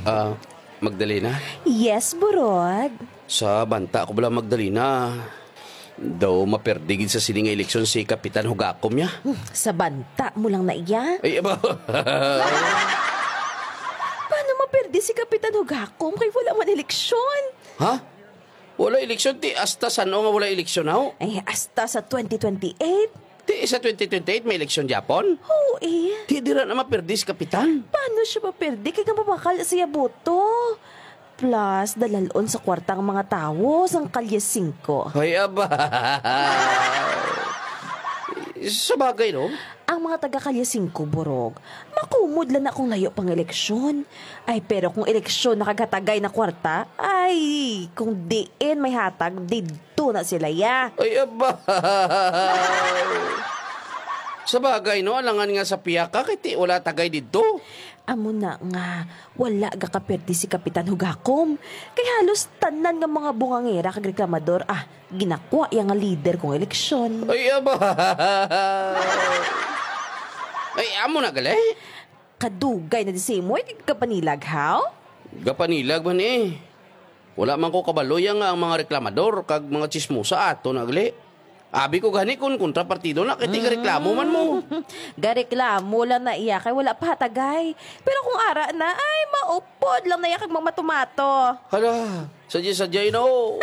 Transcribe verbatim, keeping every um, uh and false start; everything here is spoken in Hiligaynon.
Ah, Magdalena? Yes, Burog. Sa banta ko bala, Magdalena, daw maperdi gid sa sini nga eleksyon si Kapitan Hugakom niya. Hmm, sa banta mo lang na iya? Ay, aba. Paano maperdi si Kapitan Hugakom kay wala man eleksyon? Ha? Wala eleksyon, ti hasta san-o nga wala eleksyon, haw? Ay, hasta sa twenty twenty-eight. Ti sa twenty twenty-eight may eleksyon, Japon? Oo, eh. Ti dira na maperdi si Kapitan. Paano siya maperdi kay nga mabakal sa iya boto? Plus, dalalon sa kwarta ang mga tawo sang Kalye Singko. Ay, aba. Sa bagay, no? Ang mga taga Kalye Singko, Burog, makumod lang na kung layo pang eleksyon. Ay, pero kung eleksyon nakagatagay na kwarta, ay, kung diin may hatag, didto na sila, ya. Ay, aba. Sa bagay, no? Alangan nga sa piyaka, kay ti wala tagay didto. Amo na nga, wala gakaperti si Kapitan Hugakom. Kay halos tanan nga mga bungangera kag reklamador, ah, ginakwa iya nga lider kung eleksyon. Ay, aba. Ay, amo na gali? Kadugay na di simo, eh, gapanilag, haw? Gapanilag man, eh. Wala man ko kabalo ya nga ang mga reklamador kag mga chismosa ato na gali. Abi ko gani kun kontrapartido na, kay tigareklamo man mo. Gareklamo lang na iya kay wala pa hatagay. Pero kung ara na, ay, maupod lang na iya kag mamatumato. Hala, sadya-sadya, no?